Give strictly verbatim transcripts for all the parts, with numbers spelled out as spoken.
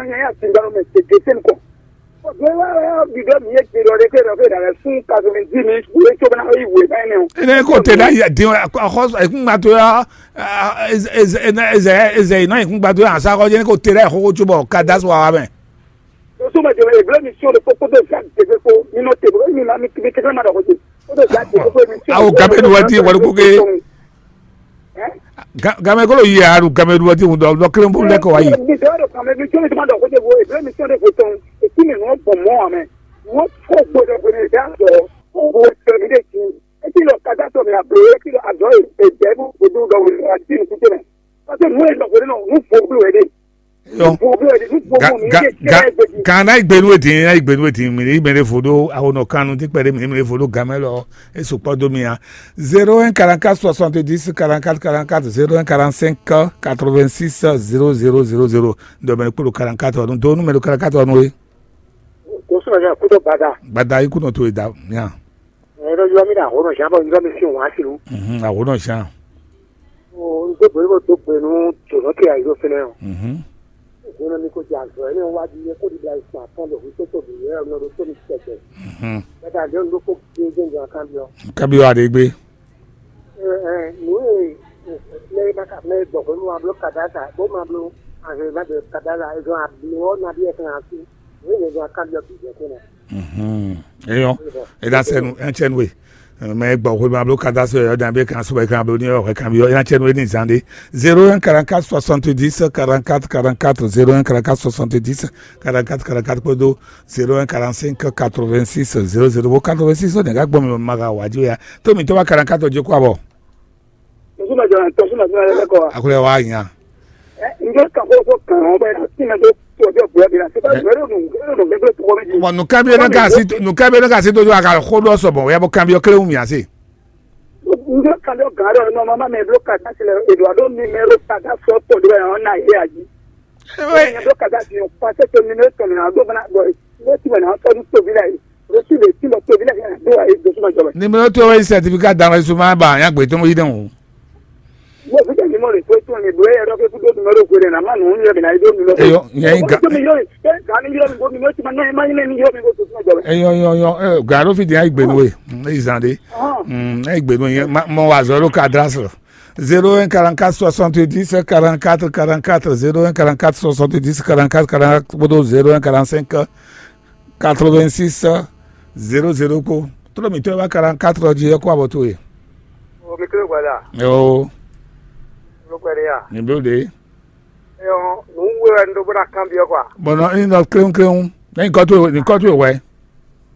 Ní a ti gbanu mɛ tete sɛn kɔ. Bɔn wá wá bidɔ mi ye te dɔ de ke dɔ ke da lɛ sun quatre-vingt-dix mille, wo ye tso bana yi wo ba ne o. Ene ko te da ya din, a xɔ e kun gba to ya. Eze eze eze eze ina e kun gba to ya sa ko je ko te da xo ko tso bɔ ka da so wa mɛ. Doso ma jɛ e blɛ mi sio de kpokpo de sa de ko mi no te bo mi ma mi mi te ma dɔ ko te. Ko de sa de ko mi sio. Awo gabe nu wa di wa ko ke. Gamɛ kolo yi aɖu gamɛ ɖu ɔdi ŋu dɔ dɔ kelen bó lɛ kɔ wa yi. Kan na igbenu eti na igbenu eti mi ni mɛ de fo do awo nɔ kanu ti kpɛɖe mi ni mɛ de fo do gamɛ lɔ. E sukpɔ do mi ya. Zéro un quarante-quatre soixante-dix quarante-quatre quarante-quatre, zéro un quarante-cinq quatre-vingt-six zéro zéro zéro zéro. Dɔ mɛ kpolo quarante-quatre nu do nu mɛ do quarante-quatre nu e. Kò sɔ̀rọ̀ yẹn kó tó gbada. Gbada yi kú nɔ to e da ya. Ẹ lọ yọ mí dà àwòrán ṣáà bọ̀ yọ mí sí òun á sì lù. Mhm, àwòrán ṣáà. O n tó gbèrú kó tó gbèrú tònú kí àyè ló fẹ́lẹ́ o. Mhm. Ìgbóná mi kò jẹ àzọ ẹ ní wájú yẹ kó di da ìsìn àtọ́ lọ wí tó tóbi yẹ ọ̀nà ló tó mi tẹ̀tẹ̀. Mhm. Bẹ́ẹ̀ ni ló kó gbé gbé nǹkan kan bí ọ. Kábíyọ̀ Adégbé. Ẹ ẹ nù ẹ lẹ́yìn bá kà mẹ́ gbọ̀ pé mo máa bló kàdá sa bó máa bló àgbẹ̀ má bẹ̀rẹ̀ kàdá sa ẹ̀ gan àbí ọ̀ nàbí ẹ̀ kan àti. Mhm. Eyɔn, ena sɛnu ɛntsɛnu we. Mɛ gbɔ xwe ma blo kata so yɔ dan be kan so kan blo ni yɔ kan bi yɔ ena tsɛnu ni zande. Zéro un quarante-quatre soixante-dix quarante-quatre quarante-quatre, zéro un quarante-quatre soixante-dix quarante-quatre quarante-quatre kpodo zéro un quarante-cinq quatre-vingt-six zéro zéro bo quatre-vingt-six ne ga gbɔ mi ma ga wa ji ya. To mi to ba quarante-quatre je kwa bɔ. Tɔsúnà jọ tɔsúnà fún ẹ lẹ́kọ̀ọ́ wa. Akulɛ wa nya. Ẹ ǹjẹ́ kàkó tó kàn án bẹ́ẹ̀ tí mẹ tó tó ọjọ́ ìbúra bí náà ṣé bá Ẹ. Ìbúra yóò dùn yóò dùn gbẹgbẹ́ tó wọ́n méjì. Mɔ nukɛbi ne ka si nukɛbi ne ka si dojú aga xó dɔ sɔbɔ ya bɔ kanbi ɔkɛlɛ wumi ase. Ǹjẹ́ kàdé ọ̀gá rẹ̀ ọ̀nà ọmọ mi ló kà dá sílẹ̀ èdò àdó mi mẹ́rọ kàdá sọ pọ̀ lórí àwọn náà yé àjí. Ẹ̀yìn ló kàdá sí ọ̀pá tẹ́tẹ́ mi ló tọ̀nà àdó bọ́ná bọ̀ ló ti wẹ̀ náà tọ́jú tóbi láyé ló sì lè tí mo tóbi láyé àdó àyè dosúmọ̀ jọba. Ni mi ló tó wáyé sẹtifika dama ìṣúná bá àyàn gbé tó ń yí dẹ́hùn. Mo fi jẹ́ mímọ́ rẹ̀ pé tó ní ìbúrẹ́ ẹ̀rọ pé kúndó numero kò rẹ̀ náà má nù ń yẹ bìnà ìdó numero. Eyɔ, nyɛ yi ga. Tó mi yóò ṣe gani yóò mi bó mi yóò ti ma náà má yín ní yóò mi bó tó fún ọjọ́ rẹ̀. Eyɔ yɔ yɔ ɛ gàdó fi di ayi gbenu we. Eyi zan de. Ayi gbenu yɛ mɔ wa zɔ ló ka dra sɔrɔ. Zéro un quarante-quatre soixante-dix quarante-quatre quarante-quatre, zéro un quarante-quatre soixante-dix quarante-quatre quarante-quatre kpódó zéro un quarante-cinq quatre-vingt-six zéro zéro kpó. Tlɔ́ mǐtɔn e wá quarante-quatre ɔ́ jí é kó abɔ towe. O mi kéré gbada. Yoo. Ló pẹ́ de ya. Ní bló de. Ẹ ɔ nù ń wé wɛ ń dó bó ná kábíyɔ kɔ. Bɔn nɔ ní nɔ kléwúnkléwún. Ní kɔ tó ní kɔ tó wɛ.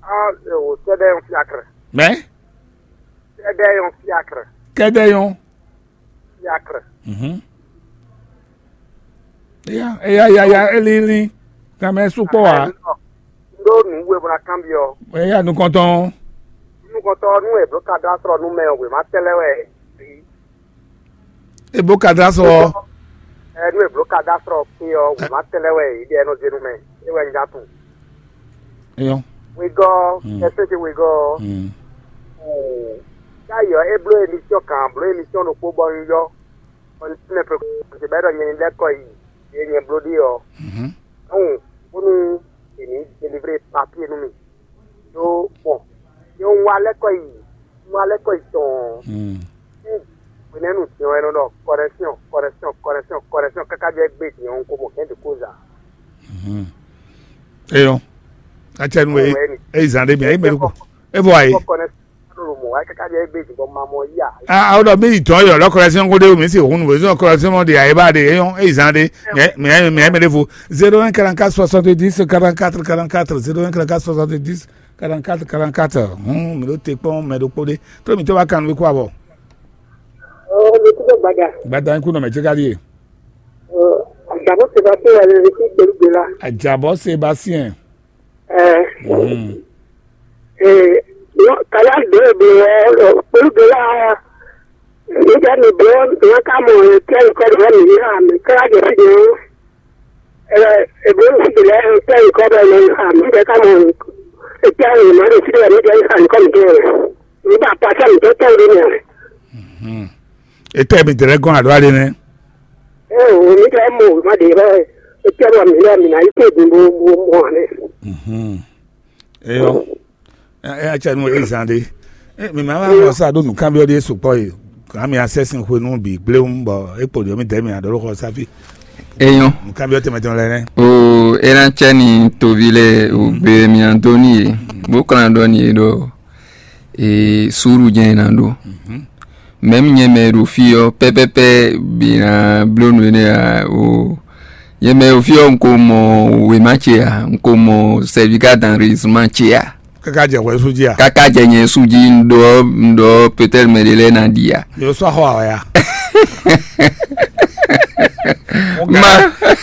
A ò sɛdɛ yɔn fiakrɛ. Mɛ. Sɛdɛ yɔn fiakrɛ. Kɛdɛ yɔn. Fiakrɛ. Mhm. Eya eya eya eya elili. Kàmɛ sukpɔ wa. N ɖó nǔ we bó ná kábíyɔ. Eya nukɔntɔn. Nukɔntɔn nú èbló ka dó asrɔ nú mɛ ɔ́ wěma tɛlɛ wɛ. Ebo ka dó asrɔ. Ɛ nú èbló ka dó asrɔ kpé ɔ́ wěma tɛlɛ wɛ ìdí ɛnɔ zé nú mɛ. É wɛ ń já tún. Eyɔn. Wegɔ́. Ɛsɛ́ ce wegɔ́. Káyɔ é bló émission kan bló émission ɖokpó bɔ un yɔ. Bɔ un tínmɛ pé kɔn bɛ́ ɖɔ nyɛ ní lɛ́ kɔ yi. Yé nyɛ bló ɖi ɔ́. Ɔn bónú èmi délivrer papier nú mi. Ɖó bɔn yɛ un wá lɛ́ kɔ yi un wá lɛ́ kɔ yi tɔn. Hwenɛ́nu din ɔ́, é nɔ ɖɔ correction, correction, correction, correction káká jɔ é gbé din ɔ́, un ko mɔ kɛ́n ɖě kó zǎ. Eyɔn. Atsɛnu e e zan ɖe mia yi mɛ ɖokpó. E vɔ ayi. Correction ɖo mɔ wá káká jɔ é gbé din bɔ ma mɔ yí a. A o ɖɔ mi yi tɔn yɔ lɔ correction ko ɖe o mi si hun nu zɔn correction mɔ de ayi ba de eyɔn e zan ɖe. Mia mia mia mɛ ɖe vo. Zéro un quarante-quatre soixante-dix quarante-quatre quarante-quatre, zéro un quarante-quatre soixante-dix quarante-quatre quarante-quatre. Hun mi ɖo te kpɔn mɛ ɖokpó ɖe. Tó mi tó wá kan wí kó abɔ. Ɔ mi kúndé gbada. Gbada ń kú nọ mɛ tí ká díè. Ɔ àjàbọ̀ ṣe bá tó wà lórí sí gbèrúgbè la. Àjàbọ̀ Sébastien. Ɛ Mhm. Ɛ yɔ kala dɔ ɛ bɛ ɔ gbèrúgbè la. Nígbà mi bọ́ wọn ká mọ̀ ẹ̀ tẹ́ nǹkan rẹ̀ mi ní àmì kára jẹ̀ sí jẹ̀ wọn. Ɛ ɛ bọ́ mi sì lẹ́ ẹ̀ tẹ́ nǹkan rẹ̀ mi ní àmì bẹ́ẹ̀ ká mọ̀ ẹ̀ tẹ́ ẹ̀ mọ̀ ẹ̀ sí rẹ̀ mi jẹ́ nǹkan rẹ̀. Nígbà pàṣẹ mi tó tẹ́ ẹ̀ lé mi rẹ̀. Etɛ mi dɛrɛ gɔn alo ale nɛ. Ɛ o mi tɛ mo ma de bɛ. É tɛ́ ɖɔ mǐ lɛ́ɛ mǐ ná yi kpé din bó bó mɔ ǎ nɛ́. Mhm. Eyɔ. Ɛ ɛ acɛ nu e zan ɖe. Ɛ mi ma wá xɔ sa ɖó nǔkanbyɔ́ ɖé sukpɔ́ e. Gǎn mi asɛ sin xwe nú bǐ gbléwún bɔ é kpo ɖě mi dɛ̌ mi aɖɔ ɖó xɔ sáfí. Eyɔn. Nǔkanbyɔ́ tɛnmɛ tɛnmɛ lɛ́ɛ nɛ́. O, é ná cɛ ni toví lɛ o gbe mi ná dó ní yě. Bó kplá ɖɔ ní yě ɖɔ e súru jɛ́n é ná ɖó. Mɛ̌m nyɛ mɛ e ɖo fí ɔ́ pɛ́pɛ́pɛ́ bǐ ná bló nǔ énɛ́ ǎ o. Nyɛ mɛ e ɖo fí ɔ́, un ko mɔ wěma ce ǎ, un ko mɔ sɛvíká danrisma ce ǎ. Káká jɛ hwɛ sú jí a? Káká jɛ nyɛ sú jí, un ɖɔ un ɖɔ peut-être mɛ ɖé lɛ́ɛ ná ɖi ǎ. Yǒ sɔ́ xɔ awɛ a? Ma.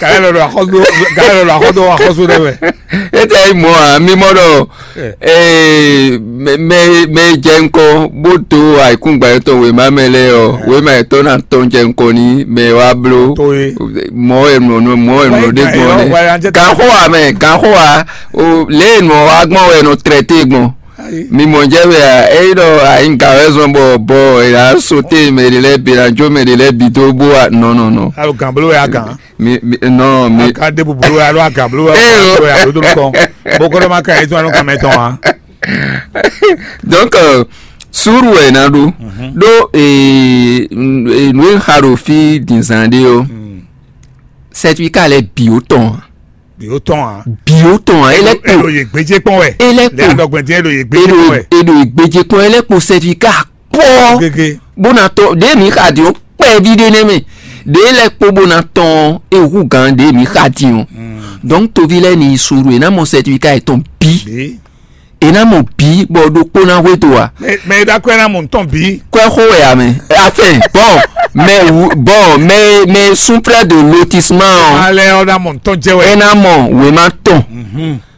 Kàlẹ́ lɔ ɖo axɔ́dó kàlẹ́ lɔ ɖo axɔ́dó axɔ́só ɖɛ mɛ. Étɛ yi mɔ a mi mɔ ɖɔ ee mɛ mɛ mɛ jɛ ŋkɔ bó dó ayǐkúngban yětɔn wěma mɛ lɛ́ɛ ɔ wěma yětɔn ná tɔn jɛ ŋkɔ ní mɛ wá bló. Tó ye. Mɔ wɛ nɔ nɔ mɔ wɛ nɔ ɖe gbɔn nɛ. Ganxɔ wa mɛ ganxɔ wa o lě e nɔ wa gbɔn wɛ nɔ trɛte gbɔn. Mi mɔ jɛ wɛ a eyi ɖɔ ayi ga wɛ zɔn bɔ bɔ e la sote mɛ ɖe lɛ bi la jo mɛ ɖe lɛ bi do bo wa nɔ nɔ nɔ. Alo gan bolo ya gan. Mi mi nɔ mi. Aka de bubulu ya lo aga bolo ya lo do kɔ. Bokoro ma ka ezo anu kamɛ tɔn wa. Donc euh, suru wɛ na ɖo ɖo ee nue xa ɖo fi dinzan ɖe o. Certificat lɛ bi o tɔn. Bi o tɔn a. Bi o tɔn a. Ele kpo. Elo ye gbedze kpɔn wɛ. Ele kpo. Lɛ adɔgbɛn diɛ elo ye gbedze kpɔn wɛ. Elo ye gbedze kpɔn ele kpo certificat kpɔ. Gege. Bona tɔ de mi xa di o kpɛ di de ne mɛ de lɛ kpo bona tɔn ehu gan de mi xa di o. Donc tovi lɛ ni suru e na mɔ certificat etɔn bi. Bi. E ná mɔ bǐ bɔ ɖokpó ná hwedó a? Mɛ mɛ e ɖo akwɛ́ ná mɔ ntɔn bǐ. Kwɛ́ xó wɛ ame afin bɔn mɛ wu bɔn mɛ mɛ sún près de lotissement ɔ. Alɛ ɔ ná mɔ ntɔn jɛ wɛ. E ná mɔ wema tɔn.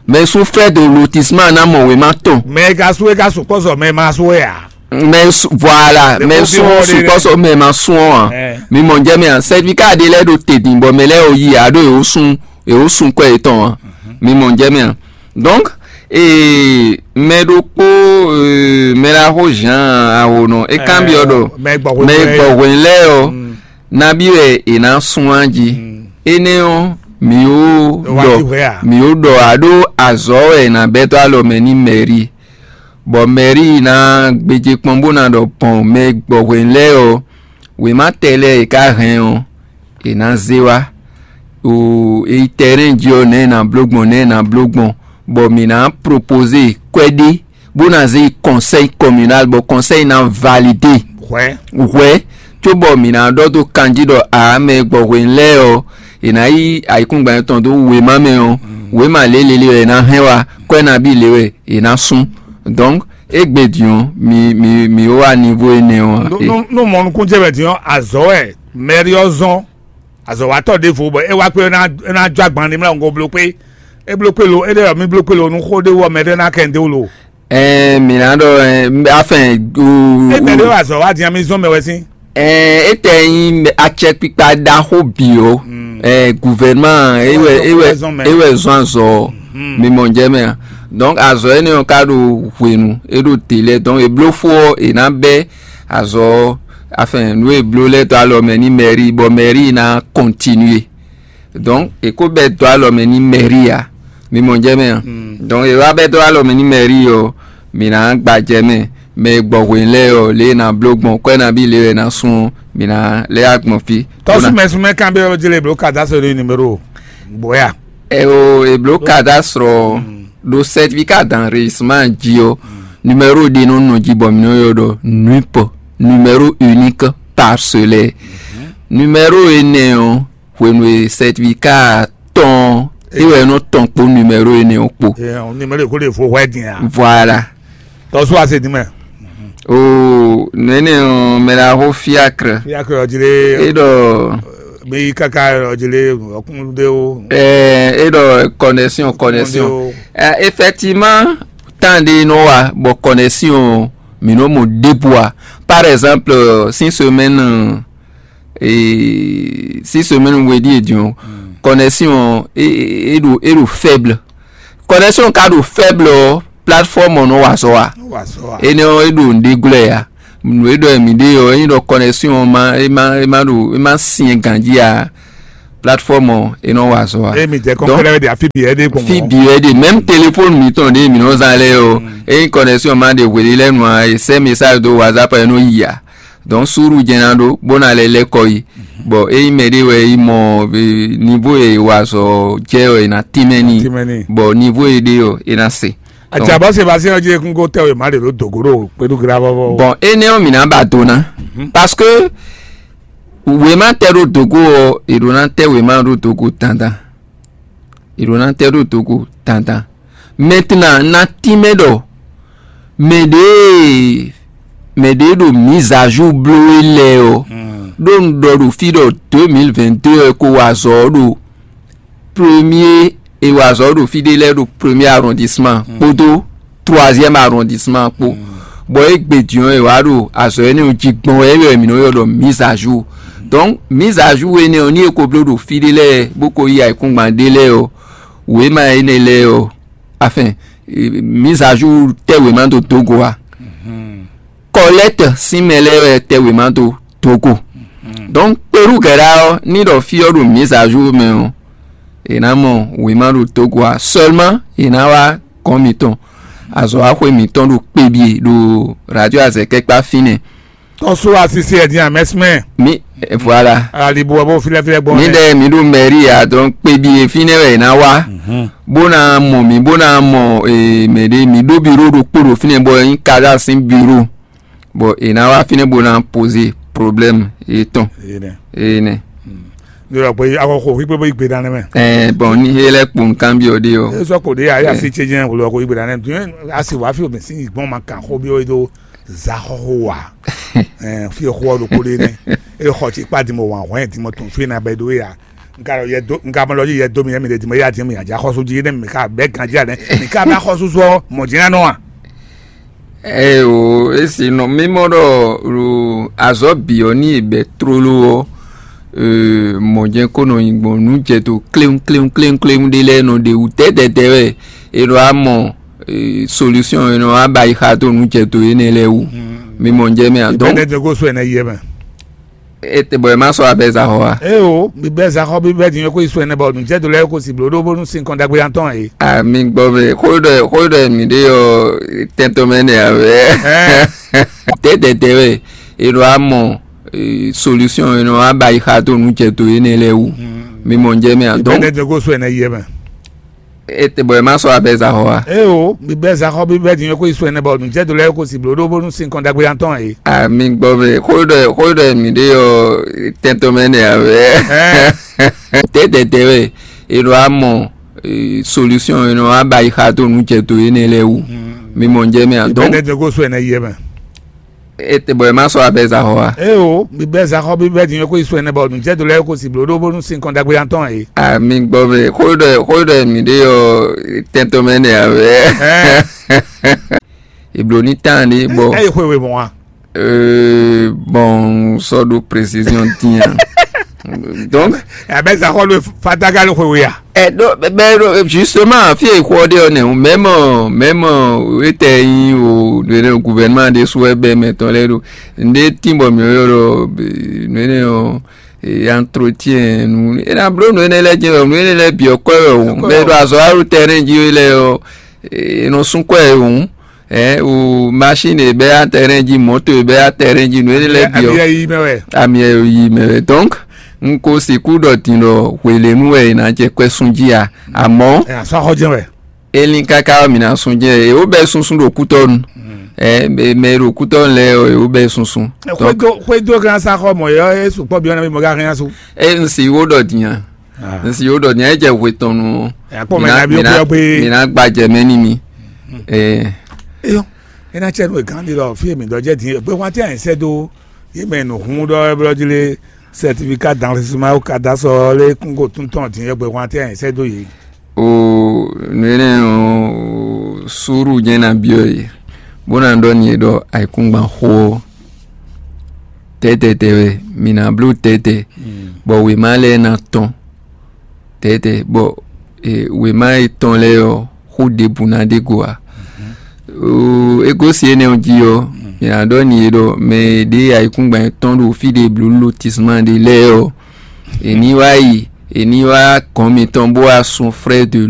Mɛ sún près de lotissement ná mɔ wema tɔn. Mɛ e ka sú e ka sukpɔ́ sɔ mɛ ma sú wɛ a? Mɛ sún voilà mɛ sún sukpɔ́ sɔ mɛ ma sún ɔ a? Mi mɔ jɛ mɛ a certificat de lɛ ɖo te din bɔ mɛ lɛ o yi a ɖo e o sún e o sún kwɛ yetɔn a? Mi mɔ jɛ mɛ a? Donc ee mɛ ɖokpó ee mɛ ɖaxó Jean Ahono é kanbyɔ́ ɖɔ mɛ e gbɔ hwenu lɛ́ɛ ɔ́ nabí wɛ è nǎ sun á jí. Énɛ́ ɔ́ mǐ ó ɖɔ mǐ ó ɖɔ ǎ ɖó azɔ̌ wɛ è nǎ bɛ́ dó alɔ mɛ n'i mɛ̌ri, bɔ mɛ̌ri ná gbéjé kpɔ́n bó ná ɖɔ gbɔn mɛ e gbɔ hwenu lɛ́ɛ ɔ́ wěma tɛ lɛ́ɛ è ká hɛn ɔ́, è nǎ zé wá. O e yi tɛrɛ́n jí ɔ́, nɛ̌ è nǎ bló gbɔn, nɛ̌ è nǎ bló gbɔn, bɔ mǐ ná propozé kwɛ́ ɖé, bó ná zé yi kɔnsɛ́yi kɔminál, bɔ kɔnsɛ́yi ná validé hwɛ̌, cóbɔ mǐ ná ɖɔ dó kanjí ɖɔ ǎ mɛ e gbɔ hwenu lɛ́ɛ ɔ́, è nǎ yí ayǐkúngban tɔn dó wěma mɛ ɔ́, wěma lě lě lě wɛ è nǎ hɛn wá, kwɛ́ nabí lě wɛ è nǎ sú. Donc, égbé din ɔ́, mi mi mi wá niveau énɛ́ ɔ́. Nú nú mɔnukúnjɛ wɛ din ɔ́, azɔ̌ wɛ mɛɖi ɔ́ zɔ́n azɔ̌watɔ́ ɖěvo bɔ é wá kpé é ná é ná jó agban ní mlá wǔngo bló kpé é bló kpé lo é ɖé wɛ mí bló kpé lo nú xó ɖé wú ɔ́ mɛ ɖé ná kɛ ndé wú lo. Ɛɛ mi ná ɖɔ ɛɛ afɛn o. Égbé ɖé wɛ azɔ̌ wá din mí zɔ́n mɛ wɛ sín. Ɛɛ étɛ nyi acɛkpikpa ɖaxó bǐ o. Ɛɛ gouvernement ewɛ ewɛ ewɛ zɔn azɔ mi mɔ jɛ mɛ a. Donc azɔ énɛ́ ɔ́ ka ɖo hwenu é ɖo délɛ, donc e bló fó ɔ́ è nǎ bɛ́ azɔ ɔ́ afin nǔ e bló lɛ́ɛ dó alɔ mɛ n'i mɛri bɔ mɛri ná kɔntinué. Donc è ko bɛ́ dó alɔ mɛ n'i mɛri ǎ. Mi mɔ jɛ mɛ a? Donc è wá bɛ́ dó alɔ mɛ n'i mɛri ɔ́, mǐ ná gba jɛ mɛ. Mɛ e gbɔ hwenu lɛ́ɛ ɔ́, lě e è nǎ bló gbɔn kwɛ́ nabí lě e è nǎ sun ɔ́, mǐ ná lɛ́ wá gbɔn fí. Tɔ́súmɛsúmɛ kan bí ɔ́ jlé bló cadastre ɖo numéro bɔ́ ya. Ɛ o è bló cadastre ɔ́ ɖo certificat d'enregistrement jí ɔ́, numéro ɖé nɔ nɔ jí bɔ mǐ nɔ ylɔ́ ɖɔ nup, numéro unique parcellaire. Numéro énɛ́ ɔ́ hwenu e certificat tɔn é wɛ nɔ tɔn kpó numéro énɛ́ ɔ́ kpó. Numéro ko lè fo hwɛ din a? Voilà. Tɔsú ase din mɛ. O nene ɔn mɛ la xo fiacre. Fiacre ɔdzi lé. E ɖɔ. Mi kaka ɔdzi lé ɔkún dé o. Ɛɛ e ɖɔ connexion connexion. Ɛ effectivement tan de nɔ wa bɔ connexion mi nɔ mo débua par exemple six semaines. Ee six semaines we ɖíe din ɔ́ connexion ɔ́ é é ɖo é ɖo faible. Connexion ka ɖo faible ɔ́ plateforme ɔ́ nɔ wa azɔ̌ wa. Énɛ́ ɔ́ é ɖo nǔɖé glɔ́ ɛ ya. Nǔ e ɖɔ mǐ ɖe ɔ́ é nyí ɖɔ connexion ɔ́ ma é ma é ma ɖo é ma syɛn ganjí ǎ. Plateforme ɔ́, é nɔ wa azɔ̌ wa. Emi jɛ kɔnkɔlɛ wɛ de afi bi ɛdɛ gbɔn. Fi bi wɛ de, même téléphone mitɔn ɖe mi nɔ zan lɛ o. Eyi connexion ma ɖe hweli lɛ nua, e sɛ message do WhatsApp ɛ nɔ yi a. Donc suru jɛ na ɖo bó na lɛ lɛ kɔ yi. Bon, eyi mɛ ɖe wɛ yi mɔ, niveau e wa azɔ̌ jɛ ɔ, e na tínmɛ ni. Bon, niveau e ɖe ɔ, e na se. Àjàbọ̀ Sébastien jí ekún kó tẹ́ wèmá ɖe ló dògó ɖo kpéɖú gra vɔvɔ. Bon, énɛ́ ɔ́, mǐ ná ba do ná. Parce que wěma tɛ ɖó dǒgó ɔ́, è ɖǒ ná tɛ wěma ɖó dǒgó dandan. È ɖǒ ná tɛ ɖó dǒgó dandan. Maintenant, ná tínmɛ ɖɔ mɛ ɖě mɛ ɖě ɖo mise à jour bló é lɛ́ɛ ɔ́, ɖó un ɖɔ ɖo fí ɖɔ deux mille vingt-deux ɔ́ ko wa azɔ̌ ɖo premier, è wa azɔ̌ ɖo fí ɖé lɛ́ɛ ɖo premier arrondissement kpódó troisième arrondissement kpó. Bɔ égbé din ɔ́, è wǎ ɖo azɔ̌ énɛ́ ɔ́ jí gbɔn wɛ, é wɛ mǐ nɔ ylɔ́ ɖɔ mise à jour. Donc mise à jour énɛ́ ɔ́, ní è ko bló ɖo fí ɖé lɛ́ɛ bó ko yí ayǐkúngban ɖé lɛ́ɛ ɔ́, wěma énɛ́ lɛ́ɛ ɔ́, afin mise à jour tɛ́ wěma dó dó go a? Kɔlɛ́tɛ sín mɛ lɛ́ɛ wɛ tɛ́ wěma dó dó go. Donc Perú gɛ̌ɖá ɔ́, ní ɖɔ fí ɔ́ ɖo mise à jour mɛ ɔ́, è nǎ mɔ wěma ɖo dó go a? Seulement è nǎ wá gɔ̌n mǐtɔn, azɔ̌waxwé mǐtɔn ɖo kpebyé ɖo radio azɛkɛ́kpá fínɛ́. Tɔ́sú asisi ɛ dín amɛsímɛ. Mi, voilà. Alibu ɔ́ bó filɛfilɛ gbɔn. Mi ɖɛ mi ɖo mɛri ya, donc kpebyé fínɛ́ wɛ è nǎ wá. Bó ná mɔ mǐ, bó ná mɔ mɛ ɖé, mǐ ɖó biro ɖokpó ɖo fínɛ́ bɔ é nyí Kaza sín biro. Bɔ è nǎ wá fínɛ́ bó ná poze problème yětɔn. Énɛ́. Ní ɔ́ pé axɔxɔ xwíkpé bó yi gbe ɖa nɛ́ mɛ. Ɛ bɔn ní é lɛ́ kpo nǔkanbyɔ ɖé ɔ́. É sɔ́ kpo ɖé ayé asi ce jɛ́n wòlò ɔkɔ yi gbe ɖa nɛ́ dun asi wá fi omi sí gbɔn ma kan xó byɔ́ é dó za xɔxɔ wa. Ɛ fi xó ɔ́ ɖokpó ɖé nɛ́ é xɔ tsi kpá dimɔ wǎn hwɛ́n dimɔ tún fi na bɛ ɖó ya. Nka lɔ yɛ dó nka mɔ lɔ yɛ dó mi yɛ mi ɖe dimɔ yɛ adi mi adza xɔsu jí nɛ mi ka bɛ ganjí anɛ mi ka bɛ xɔsu sɔ mɔ jɛn anɔ a. Eo, esi nɔ mímɔ ɖɔ ɖo azɔ̌ bǐ ɔ́ ní è bɛ̌ tlóló ɔ́, mɔ̌ jɛ́n kó nɔ nyi gbɔn nǔ jɛ to kléwún kléwún kléwún kléwún ɖé lɛ́ɛ nɔ ɖe wú tɛ́tɛ́tɛ́ wɛ è ɖo amɔ solution è nɔ wá ba yi xa dó nǔ jɛ to énɛ́ lɛ́ɛ wú. Mi mɔ jɛ mɛ a dɔn. Bɛnɛ dɛ ko so ɛnɛ yɛ mɛ. Ete bɔ ɛ ma sɔ abɛ za xɔ wa. Eo, mi bɛ za xɔ bi bɛ din ko isu ɛnɛ bɔ nu jɛ do lɛ ko si blo ɖo bónú sin kɔn dagbe yan tɔn e. Ami gbɔ bɛ xó ɖɔ xó ɖɔ mi ɖe yɔ tɛntɔn mɛ nɛ awɛ. Tɛtɛtɛ wɛ e ɖo amɔ solution e nɔ aba yi xa to nu jɛ to énɛ́ lɛ́ɛ wú. Mi mɔ jɛ mɛ a dɔn. Bɛnɛ dɛ ko so ɛnɛ yɛ mɛ. Ete bɔ ɛ ma sɔ abɛ za xɔ wa. Eo, mi bɛ za xɔ bi bɛ din ko isu ɛnɛ bɔ nu jɛ do lɛ ko si blo ɖo bónú sin kɔn dagbe yan tɔn e. Ami gbɔ bɛ xó ɖɔ xó ɖɔ mi ɖe yɔ tɛntɔn mɛ nɛ awɛ. Tɛtɛtɛ wɛ e ɖo amɔ solution e nɔ aba yi xa to nu jɛ to énɛ́ lɛ́ɛ wú. Mi mɔ jɛ mɛ a dɔn. Bɛnɛ dɛ ko so ɛnɛ yɛ mɛ. Ete bɔ ɛ ma sɔ abɛ za xɔ wa. Eo, mi bɛ za xɔ bi bɛ din ko isu ɛnɛ bɔ nu jɛ do lɛ ko si blo ɖo bónú sin kɔn dagbe yan tɔn e. Ami gbɔ bɛ xó ɖɔ xó ɖɔ mi ɖe yɔ tɛntɔn mɛ nɛ awɛ. Eblo ní tán ɖé bɔ. Ɛ yi xwe we mɔ wa. Euh, bon, sɔ ɖo précision tiɲɛ. Donc, abɛ za xɔ lo fataga lo xwe we ya. Ɛ ɖo bɛ ɖo justement fi e xɔ ɖe ɔ nɛ o même même etɛ yin o ɖe ɖe gouvernement ɖe su ɛbɛ mɛ tɔn lɛ ɖo nde tin bɔ mi yɔ ɖɔ nene o entretien nu ena blo nu ene lɛ jɛ nu ene lɛ biɔ kɔ yɔ o mɛ ɖo azɔ aru terrain ji lɛ yɔ enɔ sun kɔ yɛ o ɛ o machine e bɛ ya terrain ji moto e bɛ ya terrain ji nu ene lɛ biɔ ami yɛ yi mɛ wɛ donc n ko sixu ɖɔ din ɖɔ hwelenu wɛ e na jɛ kɔɛ sun ji a amɔ ɛ asɔ axɔ jɛ wɛ. Elin kaka ɔ́, mǐ ná sú jɛ́n è wǒ bɛ́ sunsún ɖo kútɔ́nu. Ɛ mɛ e ɖo kútɔ́nu lɛ́ɛ ɔ́, è wǒ bɛ́ sunsún. Xwédo xwédo kan sa xɔ mɔ yɔ é sukpɔ bi ɔnà mi mɔ ka hɛn asu. E n si wo ɖɔ dinya. N si wo ɖɔ dinya e jɛ hwe tɔn nu. Akpɔ mɛ na bi o kuyɔ gbe. Mǐ ná gba jɛ mɛ ní mi. Ɛ. Eyɔ, e na cɛ nu e gán di lɔ fi mi dɔ jɛ din gbe hwan ti a yɛn sɛ do. Yi mɛ nu hun dɔ e blɔ ji le certificat d'enregistrement au cadastre ɔ́ lé kún ko tún tɔn din e gbe hwan ti a yɛn sɛ do yi. O nǔ énɛ́ ɔ́, súúrú jɛ́n ná byɔ́ yě, bó ná ɖɔ n'i ɖɔ ayǐkúngban xó ɔ́, tɛ́tɛ́tɛ́ wɛ, mǐ ná bló tɛ́tɛ́, bɔ wěma lɛ́ɛ ná tɔ́n tɛ́tɛ́, bɔ wěma e tɔ́n lɛ́ɛ ɔ́, xó ɖěbǔ ná ɖe go ǎ. O é gosín énɛ́ ɔ́ jí ɔ́, mǐ ná ɖɔ n'i ɖɔ mɛ e ɖe ayǐkúngban yětɔn ɖo fí ɖě bló lotisma ɖé lɛ́ɛ ɔ́, è ní wá yi è ní wá gɔ̌n mitɔn bó wá sun frère de